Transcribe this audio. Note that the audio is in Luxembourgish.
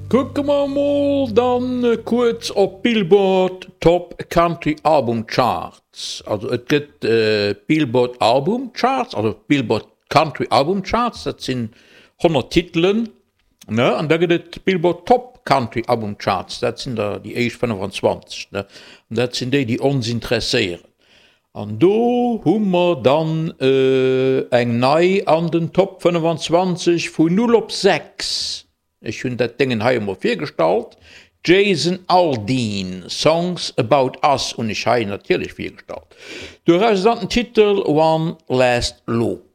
Kucke mer mol dann kuerz op d'Billboard Top Country Album Charts. Also et gëtt d'Billboard Album Charts, also d'Billboard Country Album Charts, dat sinn 100 Titelen, ne? An da gëtt et d'Billboard Top Country Album Charts, dat sinn der déi éischt 25, ne? An dat sinn déi, déi ons interesséieren. An do hu mer dann eng nei an den Top 25 vun 0 op 6. Ech hunn dat Déngen hei emol virgestallt, Jason Aldean, Songs About Us hunn ech hei natierlech virgestallt. Doraus dann den Titel One Last Look.